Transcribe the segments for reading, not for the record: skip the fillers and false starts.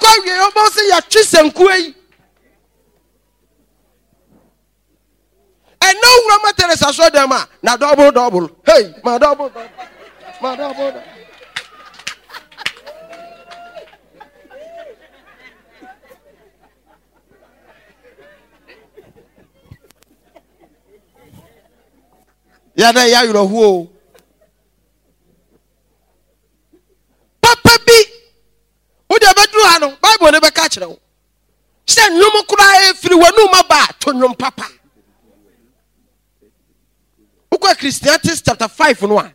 Ɛbɛkɔ awie ɔbɛn sɛ yɛatwe sankuo yi. Ɛnna owura ma Teresa sɔ dɛm a na dɔbol dɔbol. Hey, ma dɔbol dɔbol. Ma dɔbol dɔbol. Yɛdɛ yɛ awerɛhoɔ o. Papa bi, wode ɛbɛduru ha no, Bible no bɛka kyerɛ wo sɛ nnwom koraa ɛfiri w'anum aba a, to nnwom papa. Wokɔ Ecclesiastes chapter 5 no a,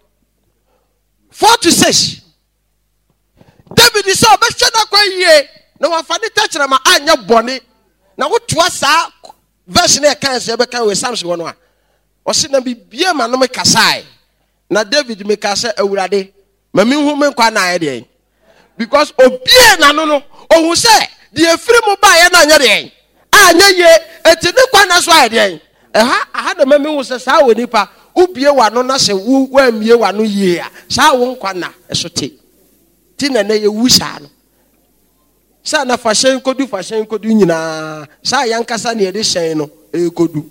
4 to 6. David sɛ ɔbɛhwɛ n'akwan yie na wafa ne tɛkyerɛma anyɛ bɔne. Na wotoa saa verse no ɛka sɛ ɛbɛka wɔ Psalms hɔ no a, ɔse na bibie ma no mekasae. Na David meka sɛ Awurade ma menhu me nkwa na ayɛ deɛn. Because obie n'ano no, ohu sɛ deɛ efiri mu baeɛ no anyɛ deɛn, anyɛ yie, eti ne nkwa na so ayɛ deɛn. Ɛha, aha na ma mehu sɛ saa wɔ nipa, wobie w'ano na sɛ wo woammie w'ano yie a, saa wo nkwa nna ɛso te. Ti na ɛnɛ yɛwu saa no. Sɛ na fa hyɛn kodu fa hyɛn kodu nyinaa, saa yankasa na yɛde hyɛn no ɛrekɔdu.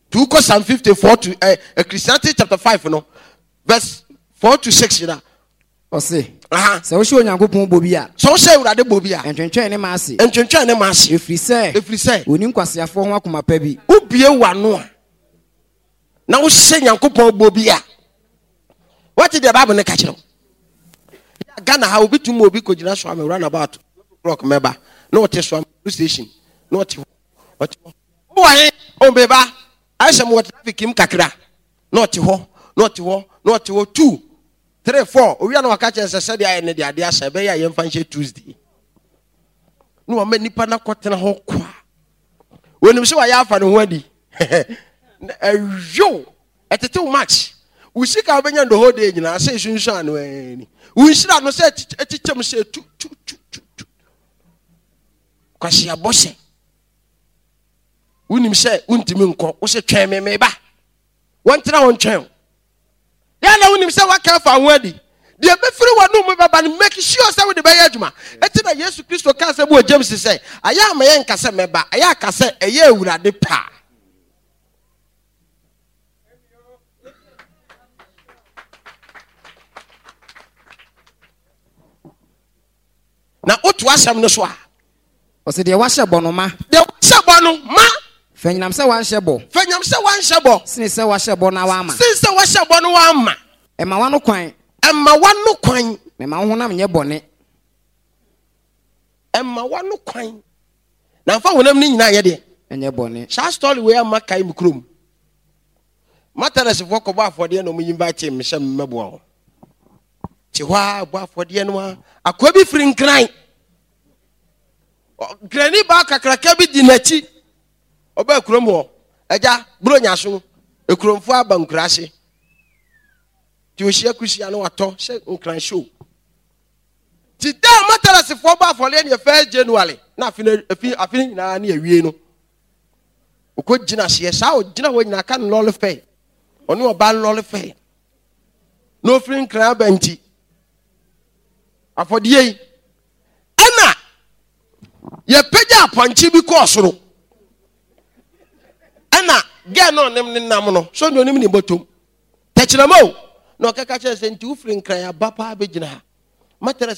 To wokɔ Psalm 54 to eh, Ecclesiastes chapter 5 no, verse 4 to 6 na. Ɔse, sɛ wohyɛ Onyankopɔn bɔ bi a. Sɛ wohyɛ Awurade bɔ bi a. Ntwentwɛn ne ma ase. Ntwentwɛn ne ma ase. Ɛfiri sɛ. Ɛfiri sɛ. Ɔni nkwaseafoɔ ho akoma pa bi. Wobie w'ano a, na wohyɛ Nyankopɔn bɔ bi a, wate deɛ Bible no ka kyerɛ wo. Ghana ha obi tumi obi kɔgyina so ama roundabout clock mɛba na ɔte so ama station na ɔte hɔ ɔte hɔ wowɔ he ɔmbeba ayɛ sɛ mewɔ traffic mu kakra na ɔte hɔ na ɔte hɔ na ɔte hɔ two 3 4 owia na waka kyerɛ sɛ sɛdeɛ ayɛ no deɛ adeɛ asa ɛbɛyɛ a yɛmfa nhyɛ Tuesday na wama nipa no akɔtena hɔ kwa wɔnim sɛ wayɛ afa ne ho adi ɛyow ɛtetew match wo sika wobɛnya the whole day nyinaa sɛ ɛsunsuan no ani wo nhyira no sɛ ɛkyekyɛm sɛ tu tu tu tu tu kwasiabɔ sɛ wonim sɛ wontumi nkɔ wo sɛ twɛn me meba wɔntena hɔ ntwɛn wo Yɛ na wonim sɛ woaka afa ho adi. Deɛ ɛbɛfiri w'anom mu bɛba no, make sure sɛ wode bɛyɛ adwuma. Enti na Yesu Kristo kaa sɛ bi wɔ James sɛ, ayɛ a ma yɛnka sɛ mɛba, ɛyɛ a ka sɛ ɛyɛ Awurade pɛ a. Na woto asɛm no so a. Ɔsɛ deɛ wahyɛ bɔ no ma. Deɛ wahyɛ bɔ no ma. Fanyinam sɛ wanhyɛ bɔ. Fanyinam sɛ wanhyɛ bɔ. Sene sɛ wahyɛ bɔ na wamma. Sene sɛ wahyɛ bɔ no wamma. Ɛma w'ano kwan. Ɛma w'ano kwan. Na ɛma wo honam nyɛ bɔne. Ɛma w'ano kwan. Na nfa honam no nyinaa nyɛ deɛ. Ɛnyɛ bɔne. Saa story wei ama kae me kurom. Matarɛsfoɔ kɔbɔ afɔdeɛ na wɔn invite me sɛ mmɛboa wɔn. Te hɔ ara bɔ afɔdeɛ no ara. Akoa bi firi Nkran. Nkrani baa kakraka bi di n'akyi. Ɔbaa kurom hɔ. Agya, Buronya so, ekuromfoɔ aba nkuraase. Nti ohyia kusia no watɔ sɛ Nkran show. Ti da a Matarɛsfoɔ bɔ afɔdeɛ no yɛ first January na afe no afi afe no nyinaa ne awie no. Ɔkɔ gyina aseɛ saa ɔgyina hɔ nyinaa ka no lɔre fɛ. Ɔne ɔbaa lɔre fɛ. Na ofiri Nkran aba nti afɔdeɛ yi ɛna yɛpagya apɔnkye bi kɔɔ soro ɛna gɛɛ na ɔnem ne nam no so ne ɔnim ne bɔtɔm tɛkyerɛma o na ɔkɛka kyerɛ sɛ nti wofiri Nkran aba paa bɛgyina ha matress.